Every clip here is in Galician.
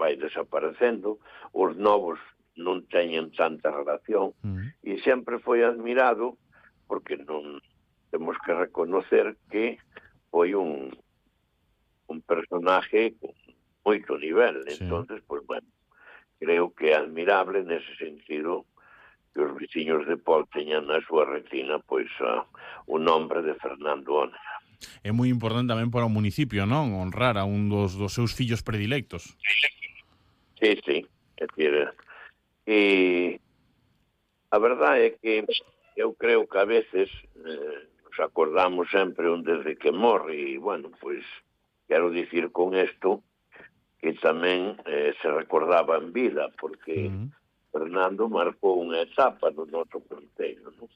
vai desaparecendo, os novos non teñen tanta relación, e sempre foi admirado, porque non temos que reconocer que foi un personaje con moito nivel. Entonces, pues bueno, creo que é admirable nese sentido que os veciños de Pol teñan na súa retina pois o nombre de Fernando Ónega. É moi importante tamén para o municipio, non? Honrar a un dos seus fillos predilectos. Sí, sí. É dicir, e a verdade é que eu creo que a veces nos acordamos sempre un desde que morre, e, bueno, pois, quero dicir con isto que tamén se recordaba en vida, porque Fernando marcou unha etapa no noso concello, non?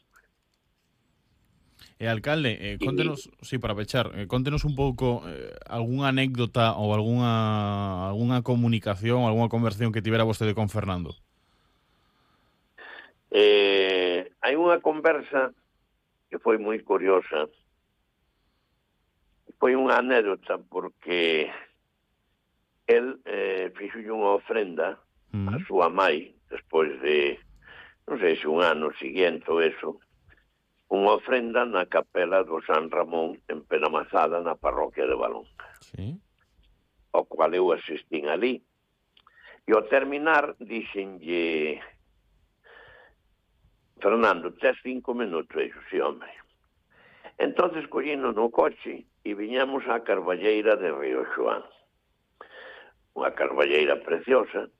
Alcalde, contenos, sí, para pechar, contenos un pouco algunha anécdota ou algunha comunicación, algunha conversación que tivera vostede con Fernando. Hai unha conversa que foi moi curiosa. Foi unha anécdota porque el fixolle unha ofrenda a súa mai despois de, non sei se un ano seguinte ou eso, unha ofrenda na capela do San Ramón en Penamazada, na parroquia de Valonga, ao cual eu asistín ali. E ao terminar dixenlle: Fernando, tes 5 minutos? E dixo: sí, hombre. Entonces collino no coche e viñamos á Carballeira de Río Xoán, unha carballeira preciosa.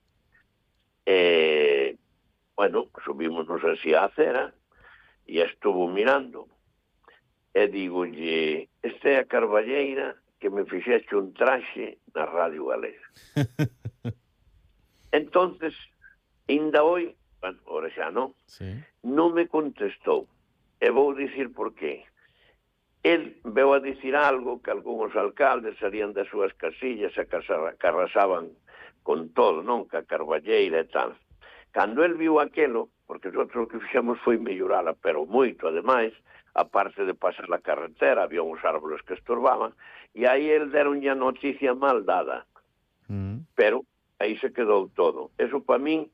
Bueno, subímonos así á acera e estuvo mirando e digolle: esta é a carballeira que me fixeche un traxe na Radio Galega. Entonces, ainda hoy, bueno, ahora xa non, non me contestou. E vou dicir por qué. El veu a dicir algo que algúns alcaldes salían das súas casillas e que arrasaban con todo, non? Que a carballeira e tal. Cando el viu aquelo, porque nosotros o que fixemos foi mellorala, pero moito, ademais, aparte de pasar a carretera, había uns árboles que estorbaban, e aí el deronlle a noticia mal dada. Pero aí se quedou todo. Eso para min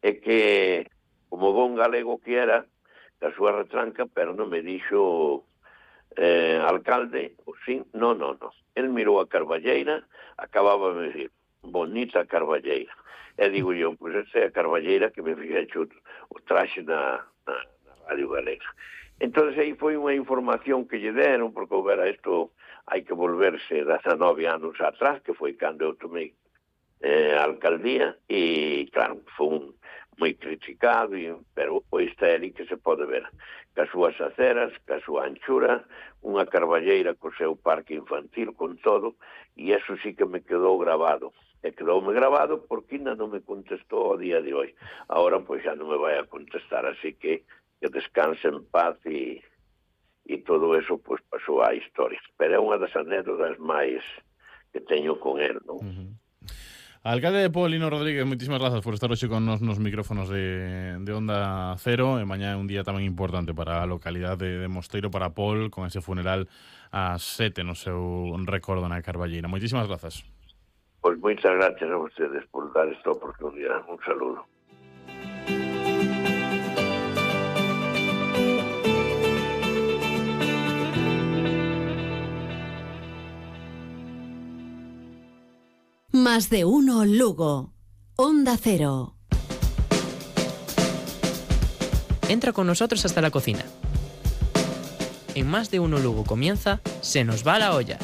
é que, como bon galego que era, da súa retranca, pero non me dixo alcalde, o sí, no. El mirou a carballeira, acababa de decir: bonita carballeira. E digo eu: pois esa é a carballeira que me fixeche o traxe na Radio Galega. Entón, aí foi unha información que lle deron, porque houbera isto, hai que volverse 19 anos atrás, que foi cando eu tomei a alcaldía, e claro, foi moi criticado, pero pois está ali que se pode ver, que as súas aceras, que a súa anchura, unha carballeira co seu parque infantil, con todo, e eso sí que me quedou grabado. E quedoume grabado porque ainda non me contestou ao día de hoy. Ahora pois xa non me vai a contestar, así que descanse en paz, e todo eso pois pasou á historia. Pero é unha das anécdotas máis que teño con él, non? Alcalde de Pol, Lino Rodríguez, moitísimas grazas por estar hoxe con nos micrófonos de Onda Cero. E mañá é un día tamén importante para a localidade de Mosteiro, para Pol, con ese funeral ás 7 no seu recordo na Carballeira. Moitísimas grazas. Pois moitas gracias a vostedes por dar esta oportunidade. Un saludo. Más de uno Lugo. Onda Cero. Entra con nosotros hasta la cocina. En Más de uno Lugo comienza Se nos va la olla.